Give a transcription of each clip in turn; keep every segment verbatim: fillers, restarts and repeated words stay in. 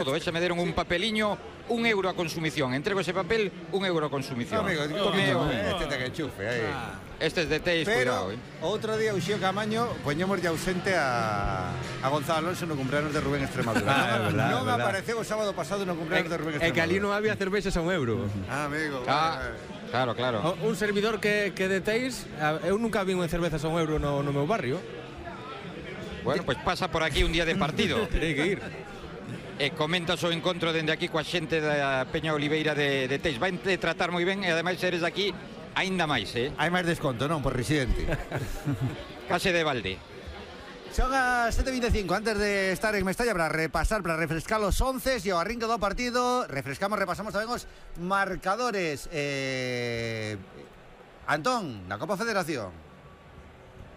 Todo, ese me deron un papeliño, un euro a consumición. Entrego ese papel, un euro a consumición. No, amigo, oh, oh, este te que enchufe aí. Ah. Este es de Teis, pero, cuidado, eh. outro día Uxío Camaño poñemos ya ausente a, a Gonzalo Alonso no cumpleaños de Rubén Extremadura. Ah, é verdad, non é verdad. apareceu o sábado pasado no cumpleaños de Rubén Extremadura. É que ali non había cervexas a un euro. Ah, amigo. Ah, vale. claro, claro. O, un servidor que, que detéis, eu nunca vi en cervezas a un euro no, no meu barrio. Bueno, pues pasa por aquí un día de partido. Terei que ir. E comentas o encontro dende aquí coa xente da Peña Oliveira de, de Teis. Vai te tratar moi ben e ademais eres aquí aínda máis, eh? Hai máis desconto, non? Por residente. Case de balde. Son as sete e vinte e cinco. Antes de estar en Mestalla para repasar, para refrescar los once e o arrinque do partido, refrescamos, repasamos tamén os marcadores. eh... Antón, na Copa Federación.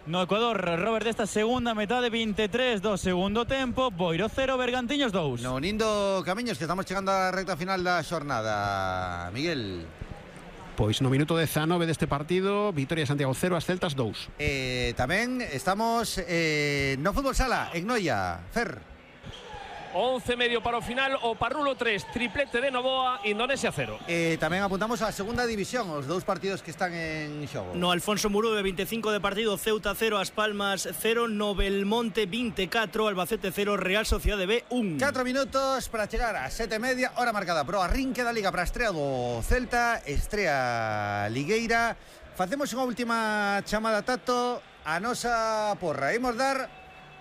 No Ecuador, Robert, desta segunda metade, veintitrés do segundo tempo, Boiro cero, Bergantiños dous. No Nindo Camiños, que estamos chegando á recta final da xornada. Miguel. Pois no minuto dezanove deste partido, Vitoria Santiago cero, as Celtas dous. Eh, tamén estamos eh, no Fútbol Sala, en Noia. Fer. once medio para o final, o Parrulo tres, triplete de Novoa, Indonesia cero. Eh, tamén apuntamos á segunda división, os dous partidos que están en xogo. No Alfonso Murube, veinticinco de partido, Ceuta cero, As Palmas cero, no Belmonte veinticuatro, Albacete cero, Real Sociedade B uno. catro minutos para chegar a sete e media, hora marcada pro arrinque da Liga para a estrea do Celta, estrea ligueira. Facemos unha última chamada, Tato, a nosa porra. Imos dar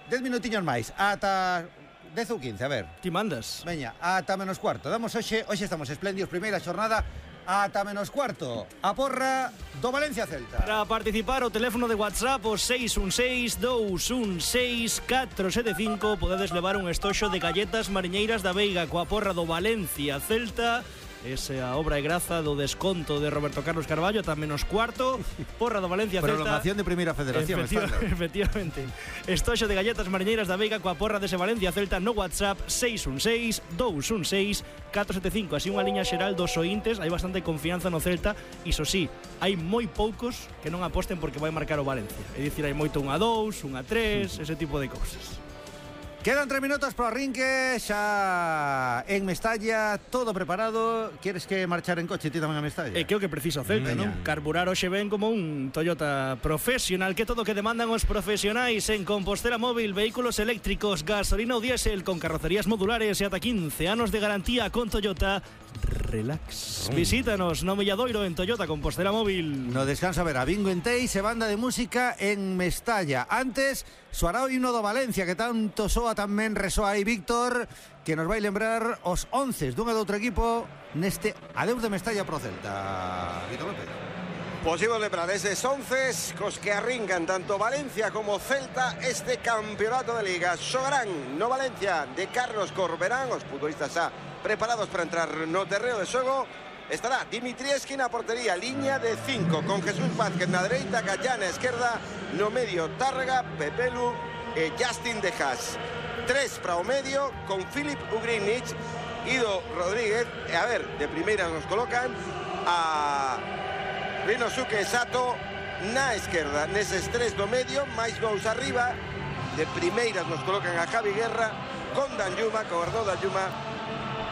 dez minutiños máis, ata dez ou quince, a ver. Ti mandas. Veña, ata menos cuarto. Damos hoxe, hoxe estamos espléndidos, primeira xornada, ata menos cuarto. A porra do Valencia Celta. Para participar, o teléfono de WhatsApp, o seis un seis, dous un seis, catro sete cinco. Podedes levar un estoxo de galletas mariñeiras da Veiga coa porra do Valencia Celta. Esa obra e graza do desconto de Roberto Carlos Carballo, ata menos cuarto. Porra do Valencia Celta. Prolongación de Primeira Federación. Efectiva, efectivamente. Estoxo de galletas mariñeiras da Veiga coa porra dese Valencia Celta no WhatsApp seis un seis, dous un seis, catro sete cinco. Así unha liña xeral dos ointes. Hai bastante confianza no Celta. Iso sí, hai moi poucos que non aposten porque vai marcar o Valencia. É dicir, hai moito un a dous, un a tres, ese tipo de cousas. Quedan tres minutos para o arrinque, xa en Mestalla, todo preparado. Quieres que marchar en coche ti tamén a Mestalla? É que o que precisa o Celta, non? Carburar hoxe ben como un Toyota profesional, que todo o que demandan os profesionais en Compostela Móvil, vehículos eléctricos, gasolina ou diésel con carrocerías modulares e ata quince anos de garantía con Toyota. Relax. Visítanos no Milladoiro en Toyota Compostela Móvil. No descanso a ver a Bingo en Teis e banda de música en Mestalla. Antes, soará o himno do Valencia, que tanto soa tamén resoa aí Víctor, que nos vai lembrar os once dun e do outro equipo neste adeus de Mestalla pro Celta. Víctor López. Pois imos lembrar eses once cos que arrincan tanto Valencia como Celta este campeonato de Liga. Xogarán no Valencia de Carlos Corberán, os futbolistas xa preparados para entrar no terreo de xogo. Estará Dimitrieski na portería, liña de cinco, con Jesús Vázquez na dereita, Gallá na esquerda, no medio Tárrega, Pepelu e Justin Dejas. Tres para o medio, con Filip Ugrinic, Ido Rodríguez, e a ver, de primeira nos colocan a Rinosuke Sato na esquerda, neses tres do medio, máis dous arriba, de primeiras nos colocan a Javi Guerra, con Danjuma, con Arnaud Danjuma,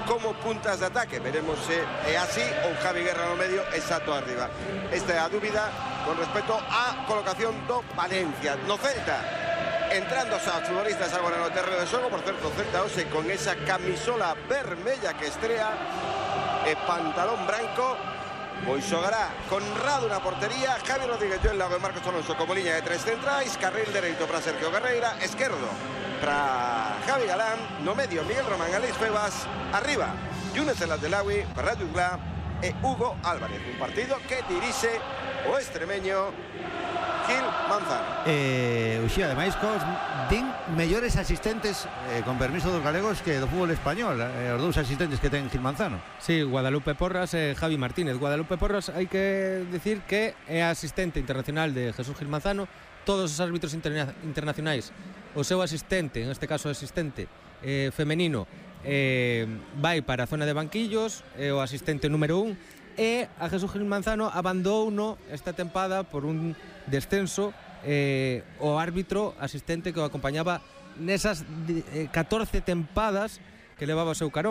como puntas de ataque. Veremos se é así ou Javi Guerra no medio e Sato arriba. Esta é a dúbida con respecto á colocación do Valencia. No Celta, entrando os futbolistas agora no terreo de xogo. Por certo, Celta hoxe con esa camisola vermella que estrea e pantalón branco. Pois xogará Conrado na portería, Javi Rodríguez Joel Lago e Marcos Alonso como liña de tres centrais, carril dereito para Sergio Carreira, esquerdo para Javi Galán, no medio Miguel Román, Alex Febas, arriba Younes El Abdelawi, Ferrat Jutgla e Hugo Álvarez. Un partido que dirixe o extremeño Gil Manzano. Eh, Uxía, ademais, cos din mellores asistentes, eh, con permiso dos galegos, que do fútbol español, eh, os dous asistentes que ten Gil Manzano. Sí, Guadalupe Porras e Javi Martínez. Guadalupe Porras, hai que decir que é asistente internacional de Jesús Gil Manzano. Todos os árbitros interna internacionais, o seu asistente, en este caso asistente eh, femenino, eh, vai para a zona de banquillos, é o asistente número un, e a Jesús Gil Manzano abandouno esta tempada por un descenso eh, o árbitro asistente que o acompañaba nesas eh, catorce tempadas que levaba o seu carón.